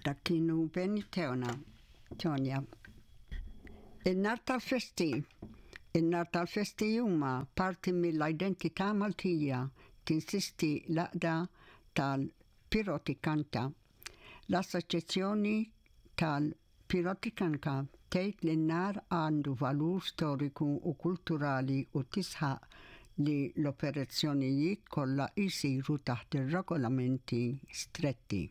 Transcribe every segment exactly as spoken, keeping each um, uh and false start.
Dak kienu Benny Teona, Tonja. In-nar tal-festi. In-nar tal-festi huma parti mill-identità Maltija, tinsisti l-Għaqda tal-Piroteknika. L-Assoċjazzjoni tal-Piroteknika tgħid li n-nar għandu valur storiku u kulturali u tisħaq li l-operazzjonijiet kollha jsiru taħt ir-regolamenti stretti.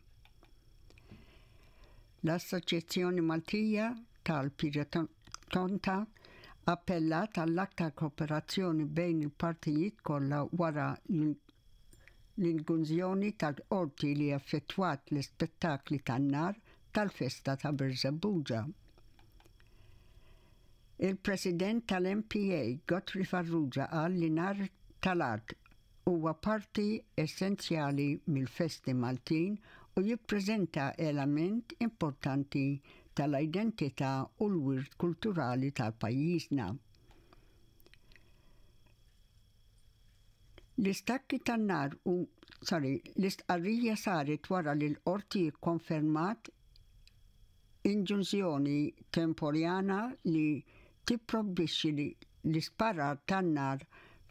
L-Assoċjazzjoni Maltija tal-Piroteknika appellat għall-aktar kooperazzjoni bejn il-partijiet kollha wara l-inġunzjoni tal-qorti li affettwat l-ispettakli tan-nar tal-festa ta' Birżebbuġa. Il-President tal-M P A, Godfrey Farrugia, qal li nar tal-art huwa parti essenzjali mill-festi Maltin u jippreżenta element importanti tal-identità u l-wirt kulturali tal-pajjiżna. L-istakki tan-nar u, sorry, l-istqarrija saret wara li l-qorti konfermat inġunzjoni temporjana li tipprojbixxi l-isparar tan-nar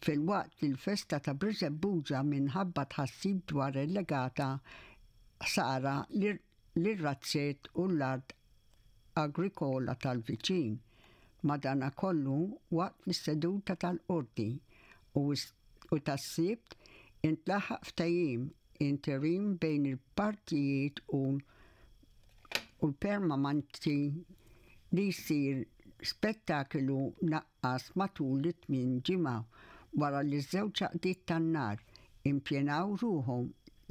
fil-waqt li l-festa ta' Birżebbuġa minħabba tħassib dwar allegata ħsara lir-razzett u l-art agrikola tal-viċin. Madanakollu, waqt l-seduta tal-qorti u u tas-Sibt intlaħaq ftehim interim bejn il-partijiet u u l-permanenti li jsir spettaklu mnaqqas matul it-tmien ġimgħa wara li żewġ għaqdiet tan-nar impjenaw ruħhom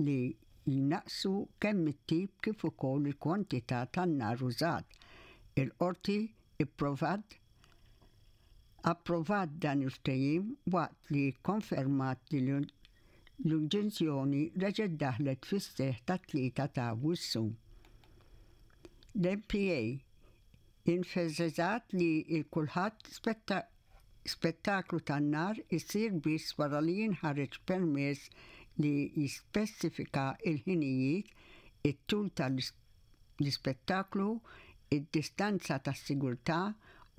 li jnaqsu kemm it-tip kif ukoll il-kwantità tan-nar użat. Il-qorti ipprovat approvat dan il-ftehim waqt li konfermat li l-inġunzjoni reġgħet daħlet fis-seħħ tat-Tlieta ta' Awwissu. L-M P A enfasizzat li il-kulħadd spettaklu tan-nar isir biss wara li jinħareġ permess li jispecifika il-ħinijiet, it-tul tal-ispettaklu, id-distanza tas-sigurtà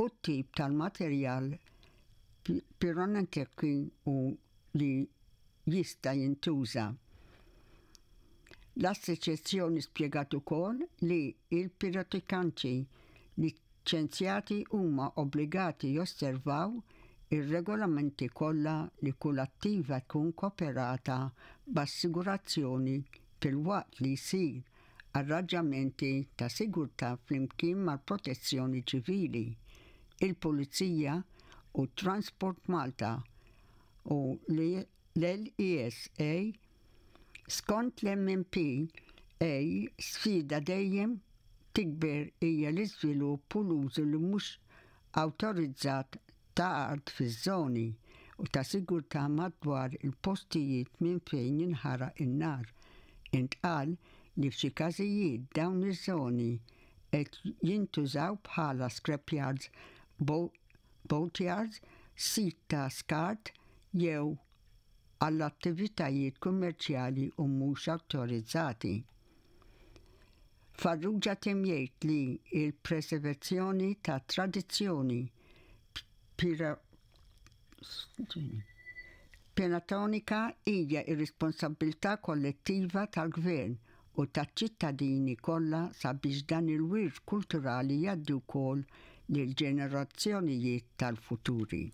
u t-tip tal-materjal pirotekniku li jista' jintuża. L-assoċjazzjoni spjegat ukoll li il-pirotekniċi liċenzjati huma obbligati josservaw ir-regolamenti kollha li kull attività tkun koperta b'assigurazzjoni filwaqt li jsir arranġamenti ta' sigurtà flimkien mal-Protezzjoni Ċivili, il-Pulizija u Transport Malta u l-L E S A. Skont l-M P A, sfida dejjem tikber hija l-iżvilupp u l-użu li mhux awtorizzat ta' art fiż-żoni u ta' sigurtà madwar il-postijiet minn fejn jinħaraq in-nar. Intqal li f'xi każijiet dawn iż-żoni qed jintużaw bħala scrapyards, boatyards, sit ta' skart jew għall-attivitajiet kummerċjali u mhux awtorizzati. Farrugia temm jgħid li il-preservazzjoni ta' tradizzjoni piroteknika hija ir-responsabilità kollettiva tal-gvern u taċ-ċittadini kollha sabiex dan il-wirt kulturali jgħaddi wkoll lil ġenerazzjonijiet tal-futuri.